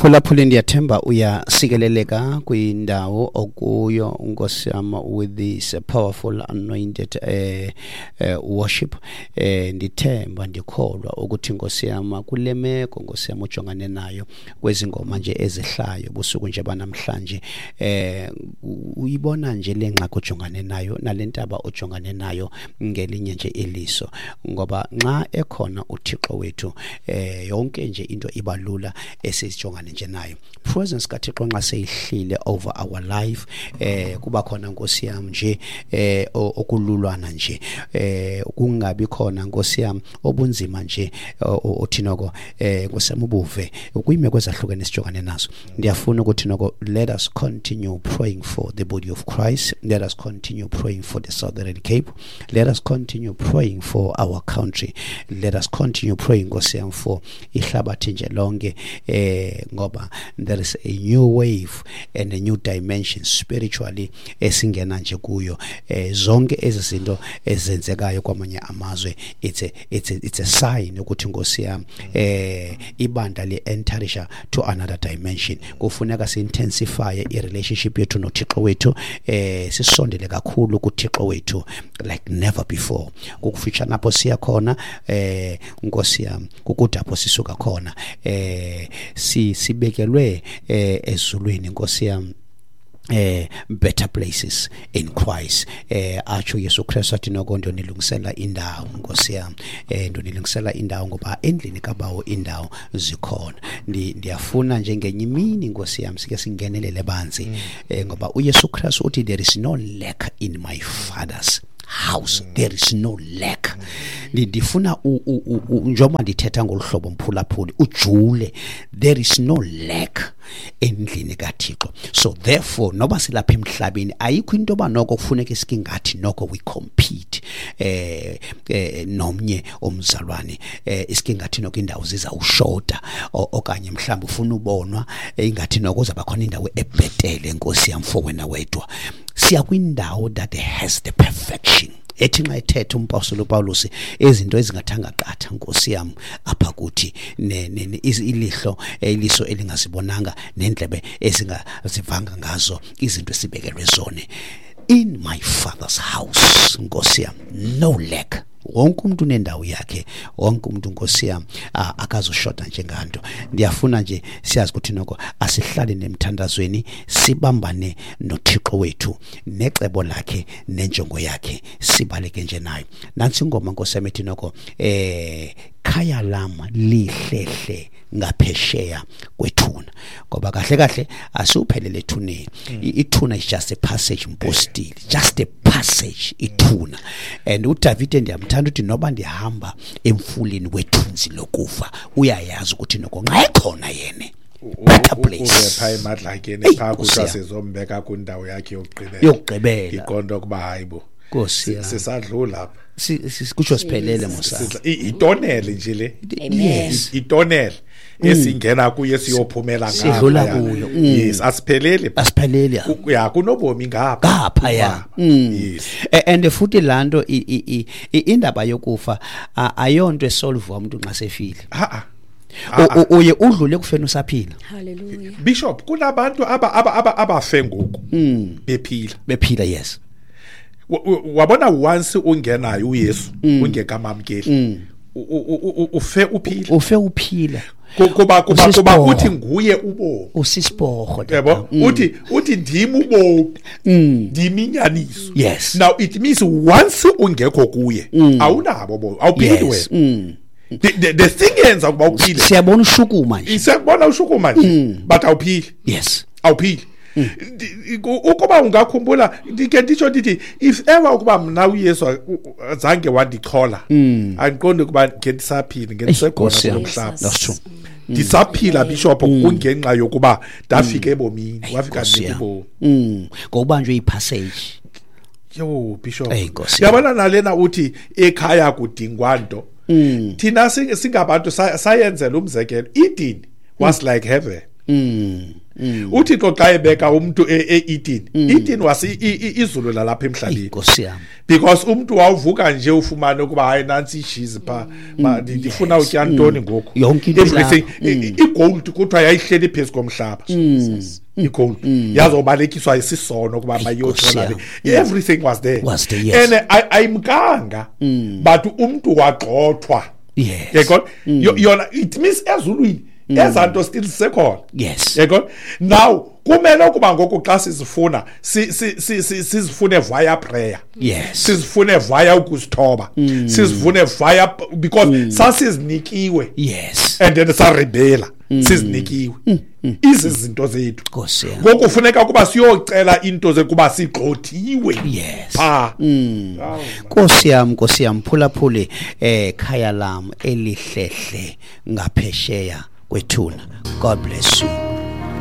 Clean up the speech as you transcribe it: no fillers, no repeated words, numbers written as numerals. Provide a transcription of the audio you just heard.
Mphulaphuli, ndiyathemba uyasikeleleka kwindawo okuyo, Nkosi yam, with this powerful anointed worship. Ndithemba, ndikholwa ukuthi, Nkosi yam, kule meko, Nkosi yam, ujongane nayo kwezi ngoma nje ezihlayo busuku nje banamhlanje, uyibona nje le ngxaki ojongane nayo nale ntaba ojongane nayo ngelinye nje iliso, ngoba nxa ekhona uThixo wethu, yonke nje into ibalula esijongane nje nayo. Presence kaThixo nxa seyihlile over our life, kuba khona, Nkosi yam, nje okululwana nje, kungabi khona, Nkosi yam, obunzima nje othi noko, Nkosi yam, ubuve kwiimeko ezahlukene sijongane nazo. Ndiyafuna ukuthi noko let us continue praying for the body of Christ, let us continue praying for the Southern Cape, let us continue praying for our country, let us continue praying, Nkosi yam, for ihlabathi nje lonke, ngoba there is a new wave and a new dimension spiritually esingena nje kuyo. Zonke ezi zinto ezenzekayo kwamanye amazwe, it's a sign ukuthi, Nkosi yam, ibandla li-enterisha to another dimension. Kufuneka si-intensify i-relationship yethu noThixo wethu, sisondele kakhulu kuThixo wethu like never before. Kukufitshane apho siya khona, Nkosi yam, kukude apho sisuka khona. Sibekelwe ezulwini, Nkosi yam, better places in Christ. Atsho Yesu Kristu athi noko ndonilungisela indawo, Nkosi yam, ndonilungisela indawo, ngoba endlini kaBawo indawo zikhona. Ndiyafuna nje ngenye imini, Nkosi yam, sike singenelele banzi, ngoba uYesu Kristu uthi, "There is no lack in my Father's house, there is no lack." Ndifuna njengoba ndithetha ngolu hlobo, mphulaphuli, ujule. There is no lack endlini kaThixo. So therefore, noba silapha emhlabeni, ayikho into yoba noko kufuneka isikingathi noko we compete nomnye umzalwane, isikingathi noko indawo zizawushota, okanye mhlawumbi ufuna ubonwa, ingathi noko uzawuba khona indawo ebhetele, Nkosi yam, for wena wedwa. Siya kwindawo that has the perfection ethi nxa ethetha umpostoli uPawulos, izinto ezingathanga qatha, Nkosi yam, apha kuthi ilihlo iliso elingazibonanga nendlebe ezingazivanga ngazo izinto esibekelwe zone in my Father's house. Nkosi yam, no lack. Wonke umuntu unendawo yakhe, wonke umuntu, Nkosi yam, akazoshota njenganto. Ndiyafuna nje siyazi ukuthi noko asihlale nemthandazweni, sibambane noThixo wethu necebo lakhe nenjongo yakhe, sibaleke nje nayo. Nantsi ingoma, Nkosi yam, ethi noko khaya lam lihlehle ngaphesheya kwethuna, ngoba kahle kahle asiwuphelele ethuneni. Ithuna is just a passage, mpostile, just a passage ithuna. And uDavide ndiyamthanda, uthi noba ndihamba emfuleni wethunzi lokufa, uyayazi ukuthi noko nxa ekhona yene, better place. Uve phaa emadlakeni. Eyi, phaa Nkosi kuthiwa yam. Sizombeka kwindawo yakhe yokugqibela. Yokugqibela. Iqonda ukuba hayi bo, Nkosi yam. sisadlula apha. Kutsho siphelele mosa. Itonele nje le. Amen. Itonele esingena kuyo siyophumela Sidlula ngaphaya. kuyo. Yes, asipheleli. Asipheleli. Ya, kunobomi ngapha. Ngaphaya. Ngapha. Yes. And futhi laa nto indaba yokufa ayonto esolvwa umuntu nxa sefile. Ha. Uye udlule ekufeni usaphila. Hallelujah. Bishop, kunabantu aba aba aba abafe ngoku bephila. Bephila, yes. Wabona, once ungenayo uYesu, ungekamamkeli, ufe uphila. Ufe uphila. Kuba Usisiporho. uthi nguye ubomi. Usisiporho. Yabo, uthi ndim ubomi, ndim inyaniso. Now it means once ungekho kuye, awunabo bomi, awuphili wena. The thing yenza ukuba uphile, Siyabona ushukuma nje. Siyakubona ushukuma nje, but awuphili. Awuphili. Ukuba ungakhumbula, ndike nditsho ndithi if ever ukuba mna uYesu zange wandichola, andiqondi ukuba ngendisaphila, ngendisekhona Nkosi yam. kulo mhlaba. That's true. Ndisaphila, Bishop, kungenxa yokuba ndafika ebomini, wafika Nkosi ndinika yam. ubomi. Ngokubanjwe ipassage. Yo, Bishop. Eyi, Nkosi yam. Yabona nalena uthi ekhaya kudingwa nto. Thina singabantu sayenzela umzekelo, Eden was like heaven. uThixo xa ebeka umntu e-Eden, Eden was izulu lalapha emhlabeni. Nkosi yam. Because umntu wawuvuka nje ufumane ukuba hayi nantsi ishizi pha, ndifuna utya ntoni ngoku. Yonke into everything. Igold kuthiwa yayihleli phezu komhlaba. Igold yazobalekiswa isisono kuba mayothola. Everything was there. Was there, yes. And ayimkanga, but umntu wagxothwa. Yes. Yayibona? Yona it means ezulwini ezanto still zisekhona. Yes. Yayibona? Now kumele ukuba ngoku xa sizifuna sizifune via prayer. Yes. Sizifune via ukuzithoba. Sizifune via because sasizinikiwe. Yes. And then sarebela. Sizinikiwe. Izi zinto zethu. Nkosi yam. Ngoku kufuneka ukuba siyocela into zekuba sigxothiwe. Yes. Pha. Nkosi yam, Nkosi yam, phulaphuli khaya lam elihlehle ngaphesheya kwethuna. God bless you.